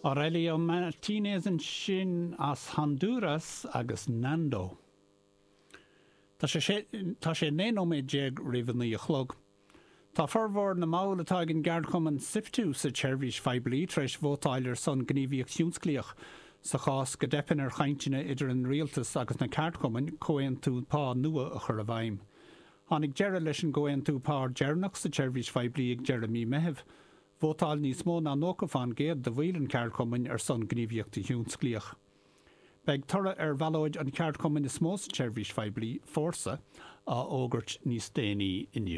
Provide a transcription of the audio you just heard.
Aurelio Martinez ansin as Hondúras agus Nando. Tá sé tá sé 19 nóiméad roimh a 9 a chlog. Tá formhór na mball atá ag an gceardchumann Siptu sa tseirbhís phoiblí tar éis vótáil ar son gníomhaíocht thionsclaíoch sa chás go dteipeann ar chainteanna idir an rialtas agus na ceardchumainn comhaontú pá nua a chur i bhfeidhm. Tháinig deireadh leis an gcomhaontú pá deireanach sa tseirbhís phoiblí ag deireadh mí Meithimh. Vótáil níos mó ná 90 fán gcéad de bhaill an cheardchumainn ar son gníomhaíochta thionsclaíoch. Beidh toradh ar bhallóid an cheardchumainn is mó sa tseirbhís phoiblí, Fórsa, á fhógairt níos déanaí inniu.